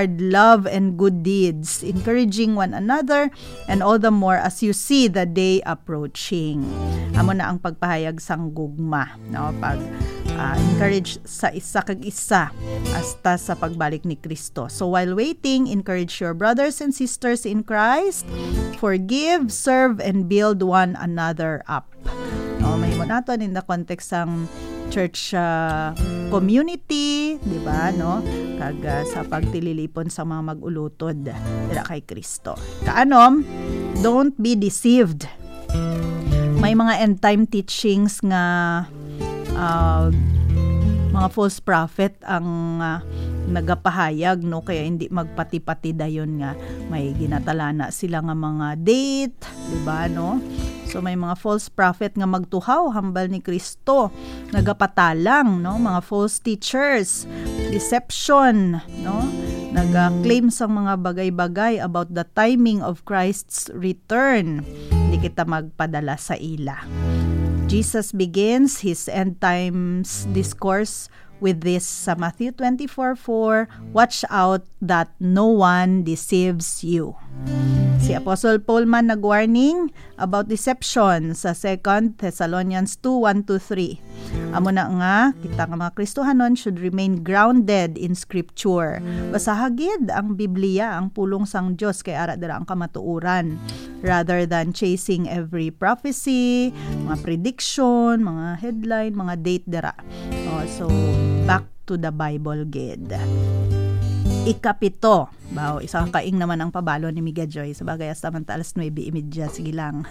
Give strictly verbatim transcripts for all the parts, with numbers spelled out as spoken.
love and good deeds, encouraging one another, and all the more as you see the day approaching. Amo na ang pagpahayag sang gugma, no? Pag, ah, encourage sa isa kag isa hasta sa pagbalik ni Kristo. So while waiting, encourage your brothers and sisters in Christ, forgive, serve, and build one another up. No, mahimo naton in the context sang church, ah, community, di ba, no? Kag, ah, sa pagtililipon sa mga mag-ulutod dira kay Kristo. Kaanom, don't be deceived. May mga end time teachings nga, ah, mga false prophet ang, ah, nagapahayag, no? Kaya hindi magpati-pati dayon nga may ginatalana sila nga mga date, di ba, no? So may mga false prophet nga magtuhaw hambal ni Kristo, nagapatalang, no? Mga false teachers, deception, no? Naga-claim sang mga bagay-bagay about the timing of Christ's return. Hindi kita magpadala sa ila. Jesus begins his end times discourse with this sa Matthew twenty-four four, "Watch out that no one deceives you." Si Apostle Paul man nag-warning about deception sa Second Thessalonians two, one to three. Amo na nga, kita nga mga Kristohanon should remain grounded in Scripture. Basaha gid ang Biblia, ang pulong sang Dios, kay ara dira ang kamatuoran, rather than chasing every prophecy, mga prediction, mga headline, mga date dira. Oh, so, back to the Bible gid. Ikapito. Baw, isa ka kaing naman ang pabalon ni Miga Joy. Sabagay, hasta man ta alas nuebe y media. Sige lang.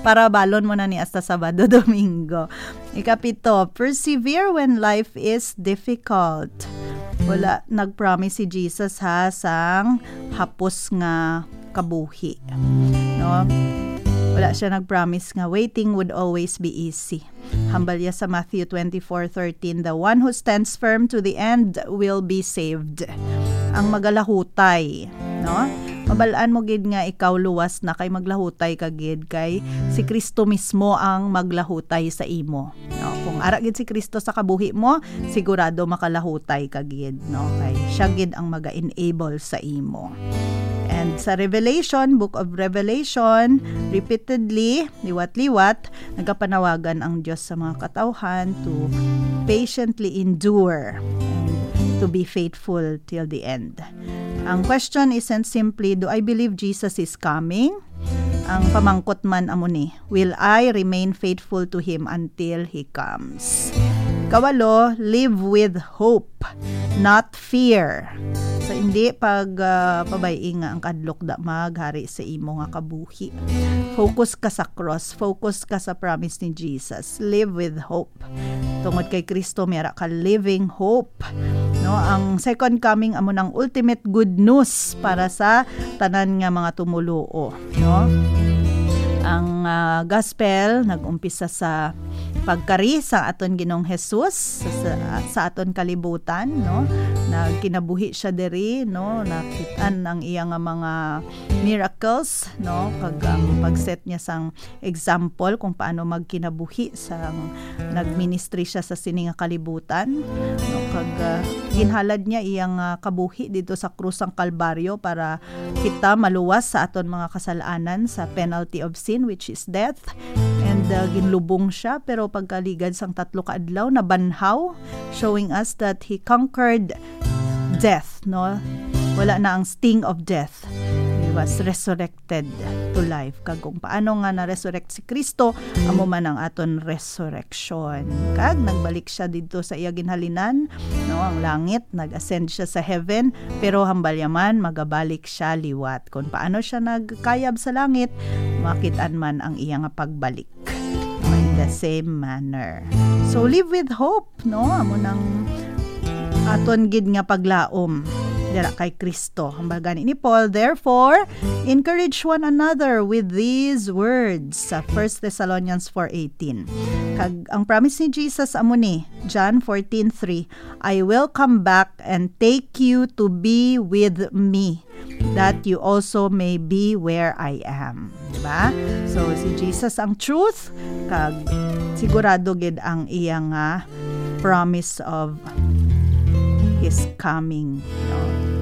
Para balon mo na ni hasta Sabado, Domingo. Ikapito, persevere when life is difficult. Wala nag-promise si Jesus, ha, sang hapos nga kabuhi. No? Wala siya nag-promise nga waiting would always be easy. Hambal niya sa Matthew twenty-four thirteen, "The one who stands firm to the end will be saved." Ang magalahutay, no? Mabal-an mo gid nga ikaw luwas na kay maglahutay ka gid, kay si Kristo mismo ang maglahutay sa imo. No? Kung ara gid si Kristo sa kabuhi mo, sigurado makalahutay ka gid, no? Kay siya gid ang maga-enable sa imo. And sa Revelation, Book of Revelation, repeatedly, liwat-liwat, nagapanawagan ang Dios sa mga katawhan to patiently endure and to be faithful till the end. Ang question isn't simply, "Do I believe Jesus is coming?" Ang pamangkot man amo ni, "Will I remain faithful to Him until He comes?" Kawalo, live with hope, not fear. So, hindi pag, ah, pabay-i nga ang kadlok da maghari sa imo nga kabuhi. Focus ka sa cross, focus ka sa promise ni Jesus. Live with hope. Tungod kay Kristo, may ara ka living hope. No, ang second coming amo nang ultimate good news para sa tanan nga mga tumuluo, no? Ang, ah, gospel nag-umpisa sa pagkari sa aton Ginoong Jesus sa, sa, sa aton kalibutan, no? Nagkinabuhi siya diri, no? Nakit-an ang iya nga mga miracles, no? Kag ang pag-set niya sang example kung paano magkinabuhi sang nagministry siya sa sini nga kalibutan, no? Kag, ah, ginhalad niya iyang, ah, kabuhi dito sa krus sang Kalbaryo para kita maluwas sa aton mga kasalanan, sa penalty of sin, which is death. And, ah, ginlubong siya, pero pagkaligad sang tatlo ka adlaw, nabanhaw, showing us that he conquered death, no? Wala na ang sting of death. He was resurrected to life. Kag kung paano nga na-resurrect si Kristo, amo man ang aton resurrection. Kag nagbalik siya didto sa iya ginhalinan, no, ang langit, nag-ascend siya sa heaven, pero hambal niya man, magabalik siya liwat. Kung paano siya nagkayab sa langit, makit-an man ang iya nga pagbalik. In the same manner. So, live with hope, no? Amo nang aton gid nga paglaom dira kay Kristo. Hambal gani ni Paul, "Therefore, encourage one another with these words," sa First Thessalonians four eighteen. Kag ang promise ni Jesus amo ni, John fourteen three, "I will come back and take you to be with me, that you also may be where I am." Diba? So, si Jesus ang truth, kag sigurado gid ang iya nga promise of His coming.